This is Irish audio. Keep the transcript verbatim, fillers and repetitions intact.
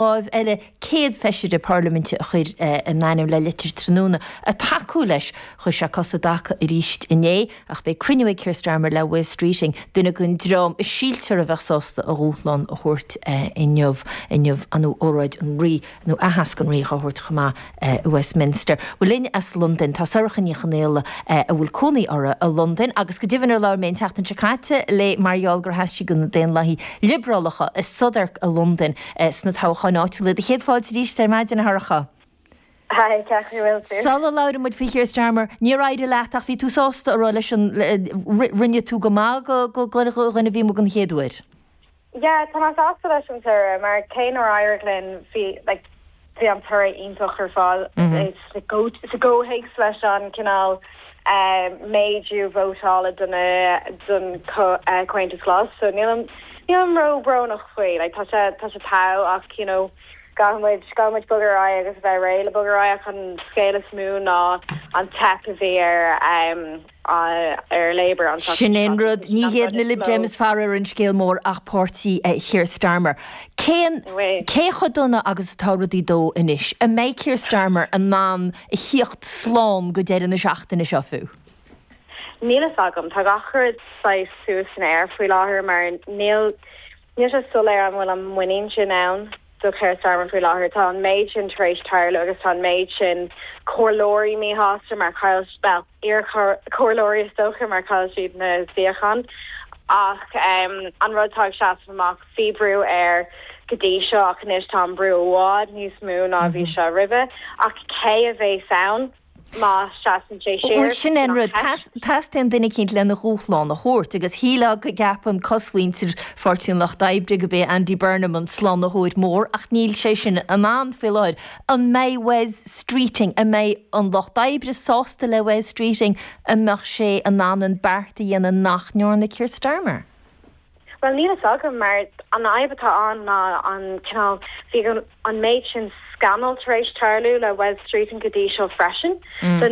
Láimh eile céad feisire parlaiminte a chuir a n-ainm le litir tráthnóna ag tacú leis. Chuir sé cos i dtaca arís inné ach beidh cruinniú ag Keir Starmer le Wes Streeting, duine den dream a síltear a bheadh sásta a dhúshlán a thabhairt inniu. Inniu an óráid an Rí nó aitheasc an Rí á thabhairt chomh maith i Westminster. Bhuel linn as Londain tá Sorcha Ní Chonaola a bhfuil cónaí uirthi i Londain agus go deimhin ar labhair mé an tseachtain seo caite léi mar gheall gur sheas sí do na Daonlathaigh Liobrálacha i Southwark i Londain sna toghcháin áitiúla. Do chéad fáilte arís ar maidin a Shorcha. Hi, cén chaoi bhfuil tú? Sula labhrann muid faoi Keir Starmer, níor éirigh leat ach bhí tú sásta a rá leis an rinne tú go maith go go dhuine a bhí amuigh den chéad uair. Yeah, tá mé sásta leis an toradh mar cé nár éirigh linn bhí like, bhí an toradh iontach ar fáil sa gcomhthéacs leis an cineál méadú vótála don don Comhaontas Glas, so níl níl ró-bhrónach faoi, like, tá sé tá sé togha ach you know, caithfimid caithfimid bogadh ar aghaidh agus bheith réidh le bogadh ar aghaidh an scéal is mó ná an teip a bhí ar um, ar Labour an Sin é an rud ní hiad na Lib Dems fear ar an scéal mór ach páirtí Keir Starmer. Cén cé chomh dona agus atá rudaí dó anois, an mbeidh Keir Starmer in ann a theacht slán go deireadh na seachtaine seo fiú. Níl a fhios agam tá gach rud suas san aer faoi láthair mar níl níl sé soiléir an bhfuil an muinín sin ann do Keir Starmer faoi láthair tá an méid sin tar éis tarlú agus tá an méid sin comhairleoirí míshásta mar chaill well iar-chomhairleoirí is dócha mar chaill siad na suíocháin ach um, an rud tá ag seasamh amach bhí brú air go dtí seo ach anois tá an brú i bhfad níos mó ná bhí sé roimhe ach cé a bheas ann má seasann sé siar. Sin an rud teastaíonn duine eicínt lena dhúshlán a thabhairt agus shílfeá go gceapann cosmhuintir Pháirtí an Lucht Oibre gurb é Andy Burnham an slánaitheoir mór ach níl sé sin in ann faoi láthair. An mbeidh Wes Streeting, an mbeidh an Lucht Oibre sásta le Wes Streeting an mbeadh sé in ann an beart a dhéanamh nach ndearna Keir Starmer. Well níl a fhios agam mar an fhadhb atá ann ná an cineál bhí an méid sin scannal tar éis tarlú le Wes Streeting go dtí seo freisin. Mm. So